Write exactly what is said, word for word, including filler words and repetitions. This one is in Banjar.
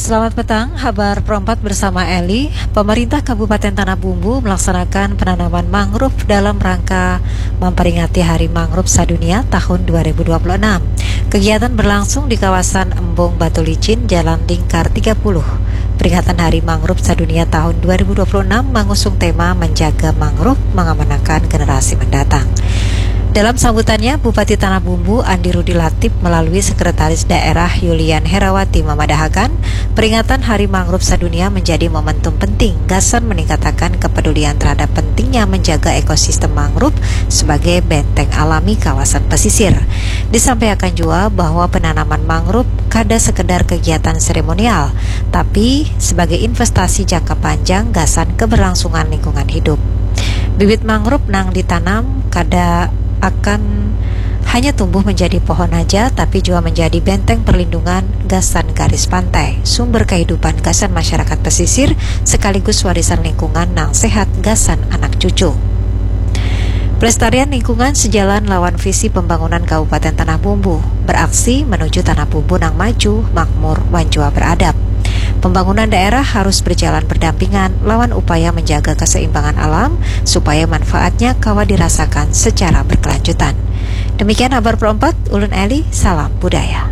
Selamat petang, habar perempat bersama Eli. Pemerintah Kabupaten Tanah Bumbu melaksanakan penanaman mangrove dalam rangka memperingati Hari Mangrove Sadunia tahun dua ribu dua puluh enam. Kegiatan berlangsung di kawasan Embung Batu Licin, Jalan Lingkar tiga puluh. Peringatan Hari Mangrove Sadunia tahun dua ribu dua puluh enam mengusung tema menjaga mangrove, mengamanahkan generasi mendatang. Dalam sambutannya, Bupati Tanah Bumbu Andi Rudi Latif melalui Sekretaris Daerah Yulian Herawati memadahakan, peringatan Hari Mangrove Sadunia menjadi momentum penting gasan meningkatakan kepedulian terhadap pentingnya menjaga ekosistem mangrove sebagai benteng alami kawasan pesisir. Disampaikan jua bahwa penanaman mangrove kada sekedar kegiatan seremonial, tapi sebagai investasi jangka panjang gasan keberlangsungan lingkungan hidup. Bibit mangrove nang ditanam kada akan hanya tumbuh menjadi pohon haja, tapi jua menjadi benteng perlindungan gasan garis pantai, sumber kehidupan gasan masyarakat pesisir, sekaligus warisan lingkungan nang sehat gasan anak cucu. Pelestarian lingkungan sejalan lawan visi pembangunan Kabupaten Tanah Bumbu, beraksi menuju Tanah Bumbu nang maju, makmur, wan jua beradab. Pembangunan daerah harus berjalan berdampingan lawan upaya menjaga keseimbangan alam supaya manfaatnya kawa dirasakan secara berkelanjutan. Demikian habar perempat, ulun Eli, salam budaya.